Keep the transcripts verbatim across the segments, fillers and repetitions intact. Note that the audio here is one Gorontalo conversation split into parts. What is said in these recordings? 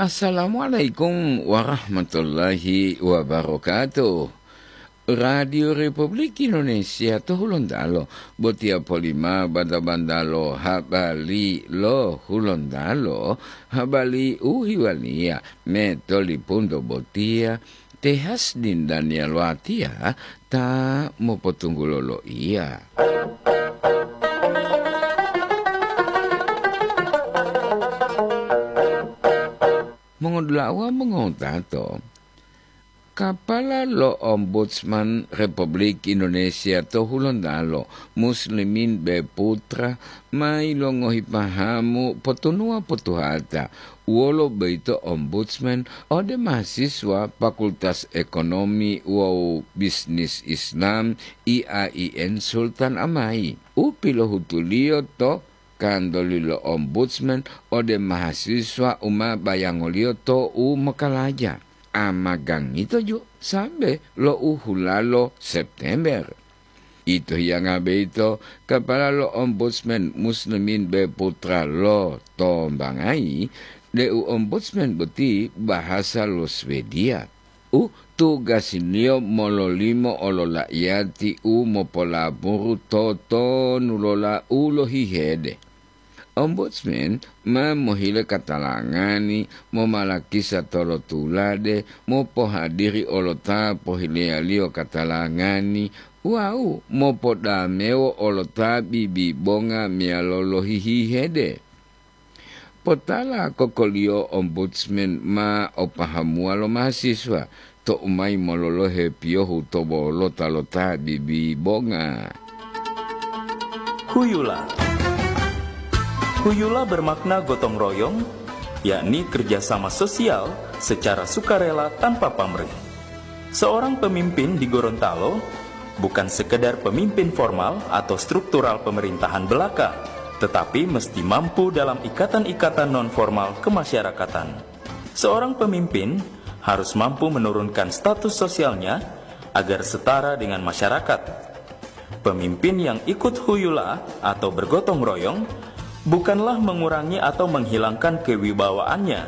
Assalamualaikum warahmatullahi wabarakatuh. Radio Republik Indonesia to Hulontalo, botiya polima banda-banda lo habari lo Hulontalo, habari u hiwaliya me tolipunto botiya, Te Hasdin Daniel Watiya ta mopotunggulo loiya. Mongodula'a wawu mongotato, Kapala lo Ombudsman Republik Indonesia to Hulontalo, Muslimin B. Putra, ma yilongohi pahamu potunuwa potuhata wolo boyito Ombudsman ode mahasiswa Fakultas Ekonomi wawu Bisnis Islam I A I N Sultan Amai, u pilohutuliyo to kantoli lo Ombudsman ode mahasiswa u ma bayangoliyo to u mokalaja. Amagangito ju sambe lo u hulalo September. Ito hiyanga boyito, kapala lo Ombudsman Muslimin B. Putra lotombangayi deu Ombudsman boti bahasa lo Swedia, u tugasiliyo mololimo olola'iyati u mopolaburu totonulola u lohihede. Ombudsman ma mohile katalangani momalakisa tolotulade, mopohadiri olo ta pohileyaliyo katalangani wawu mopodamewo olo ta bibibonga meyalo lohihihede. Potala kokoliyo Ombudsman ma opahamuwa lo mahasiswa tou mayi mololohe piyohu to bolota lo ta bibibonga. Huyula. Huyula bermakna gotong royong, yakni kerjasama sosial secara sukarela tanpa pamrih. Seorang pemimpin di Gorontalo bukan sekedar pemimpin formal atau struktural pemerintahan belaka, tetapi mesti mampu dalam ikatan-ikatan non-formal kemasyarakatan. Seorang pemimpin harus mampu menurunkan status sosialnya agar setara dengan masyarakat. Pemimpin yang ikut huyula atau bergotong royong bukanlah mengurangi atau menghilangkan kewibawaannya,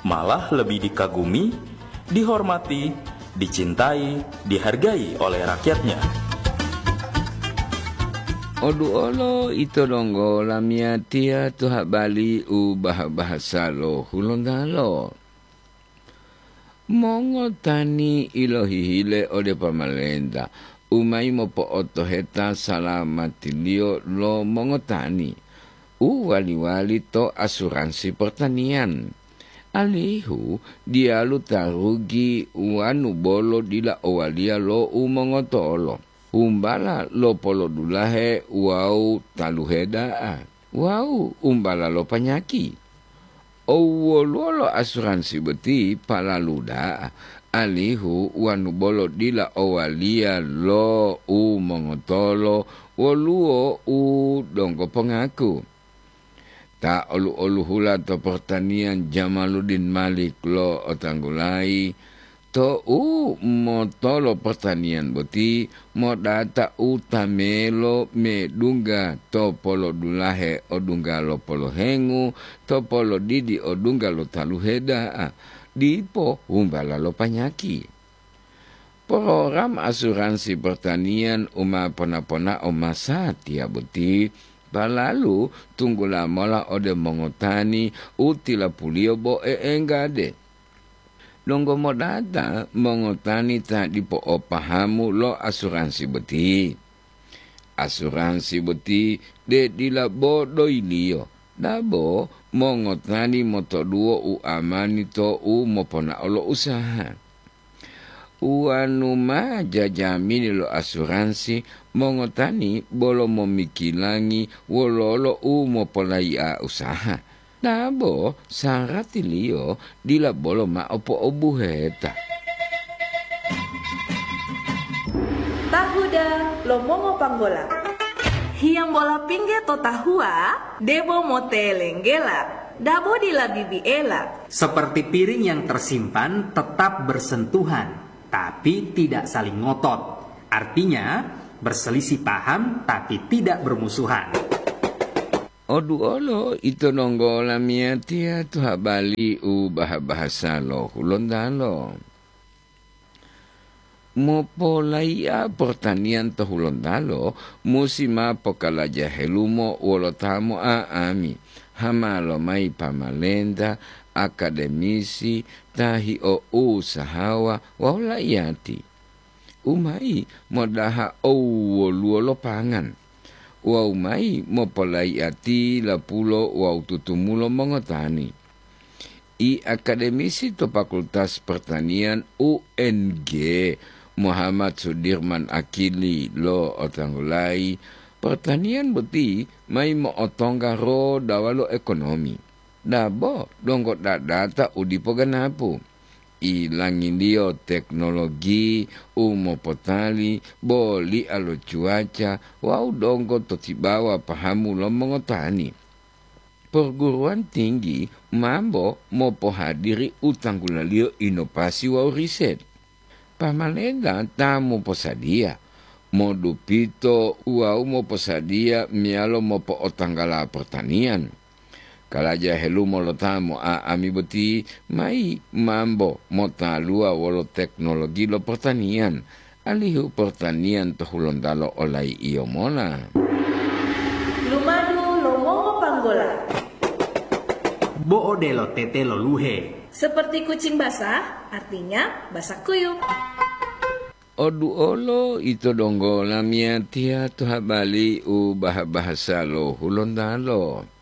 malah lebih dikagumi, dihormati, dicintai, dihargai oleh rakyatnya. Oduolo ito donggo lamiyatiya to habari u bah-bahasa lo Hulontalo. Mongotani ilohihile ode pamalenta u mayi mopo'otoheta salamatiliyo lo mongotani u wali-wali to asuransi pertanian, alihu diyalu ta rugi wanu bolo dila owaliya lo u mongotolo, humbala lo polodulahe wawu taluhe da'a, wawu umbala lo panyaki. Owoluwo lo asuransi boti palalu da'a, alihu wanu bolo dila owaliya lo u mongotolo woluwo u donggo pongaku. Ta olu-oluhula to pertanian Jamaluddin Malik lo'otanggulayi, to u motolo pertanian boti modata u tamelo medungga to polodulahe odungga lo polohengu, to polodidi odungga lo taluhe da'a, dipo humbala lo panyaki. Program asuransi pertanian u ma pona-ponao masatiya boti palalu tunggula mola ode mongotani u tilapuliyo bo e'enggade. Donggo modata mongotani ta dipo o pahamu lo asuransi boti. Asuransi boti de dila bo doyiliyo, dabo mongotani motoduwo u amani to u moponao lo usaha. Wanu ma jajamini lo asuransi, mongotani bolo momikilangi wololo u mopolayi'a usaha. Dabo saratiliyo dila bolo mao po'obuheta. Tahuda lo mongopanggola. Hiyambola pingge to tahuwa, debo motelenggela, dabo dila bibiela. Seperti piring yang tersimpan tetap bersentuhan, tapi tidak saling ngotot. Artinya, berselisih paham tapi tidak bermusuhan. Oduolo ito donggo lamiyatiya to habali u baha-bahasa lo Hulontalo. Mopolaiya portaniyan to Hulontalo musi ma pokalaja helumo wolo ta mo'a'ami, hama lomayi pamalenta, akademisi, ta hio'usahawa wawu laiyati. Umayi modaha owwoluwo lo pangan. Wawu mayi mopolaiya tilapulo wawu tutumulo mongotani. I akademisi to Fakultas Pertanian U N G, Muhammad Sudirman Akili lo otanggulayi, pertanian boti mayi mo'otongga rodawa lo ekonomi. Dabo donggo dadata u dipo ganapu. Ilangiliyo teknologi u mopotali bo lia lo cuaca wawu donggo to tibawa pahamu lo mongotani. Perguruan tinggi mambo mopohadiri u tanggulaliyo inovasi wawu riset. Pamalenta ta moposadiya, modupito wawu moposadiya meyalo mopo'otanggala pertanian. Kalaja helumo lo ta mo'a'ami boti mayi mambo motaluwa wolo teknologi lo pertanian, alihu pertanian to Hulontalo olai'iyo mola. Lumadu lo mongopanggola. Bo odelo tete lo luhe. Seperti kucing basah, artinya basah kuyup. Oduolo ito donggo lamiyatiya to habali u baha-bahasa lo Hulontalo.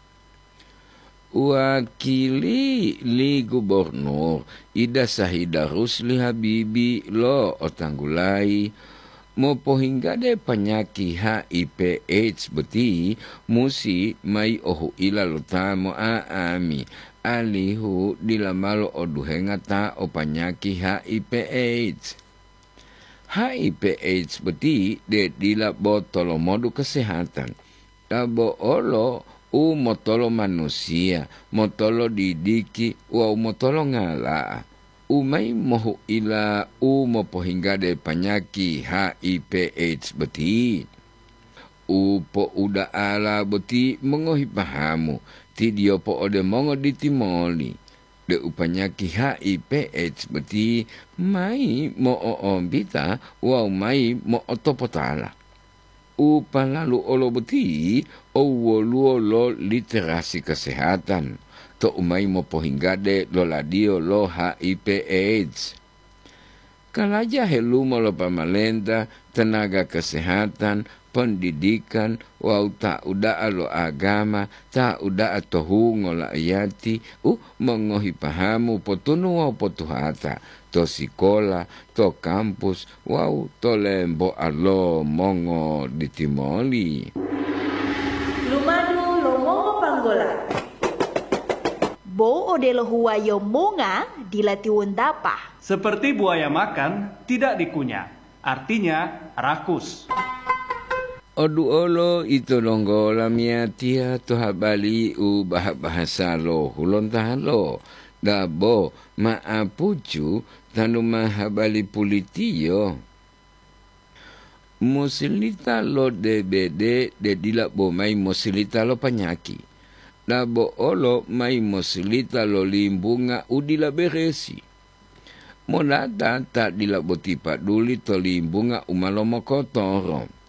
Wakili li gubernur Ida Sahida Rusli Habibi lo otanggulayi mopohinggade panyaki H I V AIDS boti musi mayi ohuila lo ta mo'a'ami, alihu dila malo oduhenga ta o panyaki H I V AIDS. H I V AIDS boti de dila bo tolomodu kesehatan, ta bo olo u motolo manusiya, motolo didiki wawu motolo ngala'a, u mayi mohuila u mopohinggade panyaki H I V AIDS boti. U po'uda'ala boti mongohi pahamu, tidiyo po'ode mongo ditimoli, deu panyaki H I V AIDS boti mayi mo'o'ombita wawu mayi mo'otopotala. U palalu olo boti owwoluwo lo literasi kesehatan, to'u mayi mopohinggade loladiyo lo H I V AIDS. Kalaja helumo lo pamalenta, tenaga kesehatan, pendidikan, wawu ta uda'a lo agama, ta uda'a to hungo la'iyati u mongohi pahamu potunu wawu potuhata, to sikola, to kampus, wawu to lemboa lo mongoditimoli. Lumadu lo mongopanggola. Bo odelo huwayo monga dila tiwontapa. Seperti buaya makan, tidak dikunyah. Artinya, rakus. Oduolo ito donggo lamiyatiya to habali u baha-bahasa lo Hulontalo, dabo ma'apucu tanu ma habali pulitiyo. Mosilita lo D B D de dila bo mayi mosilita lo panyaki, dabo olo mayi mosilita lo limbunga u dila beresi. Monata ta dila boti paduli to limbunga u ma lomokotoro.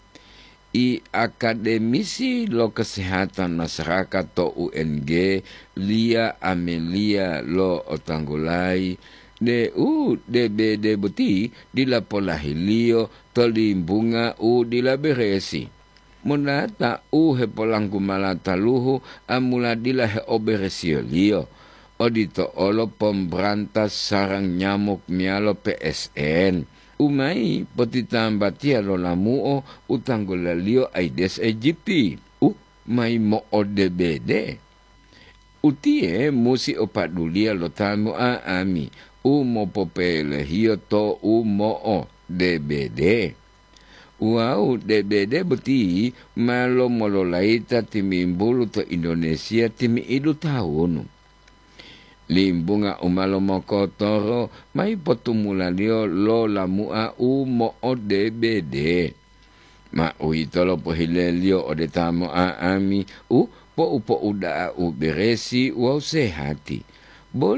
I akademisi lo kesehatan masyarakat to U N G, Lia Amelia lo otanggulayi, deu D B D boti dila polahiliyo to limbunga u dila beresi. Monata u hepolanggu mala taluhu amula dila heoberesiyoliyo, odito olo pemberantas sarang nyamuk meyalo P S N, u mayi potitambatiya lo lamu'o u tanggulaliyo Aedes aegypti, u mayi mo'o-D B D. Utiye musi o paduliya lo ta mo'a'ami u mopopelehiyo to u mo'o-D B D. Wawu D B D boti ma lomololayita timimbulu to Indonesia timi'idu tawunu. Limbunga u ma lomokotoro mayi potumulaliyo lo lamu'a u mo'o-D B D. Ma uwitolo pohileliyo ode ta mo'a'ami u po'u-po'u da'a u beresi wawu sehati. Boli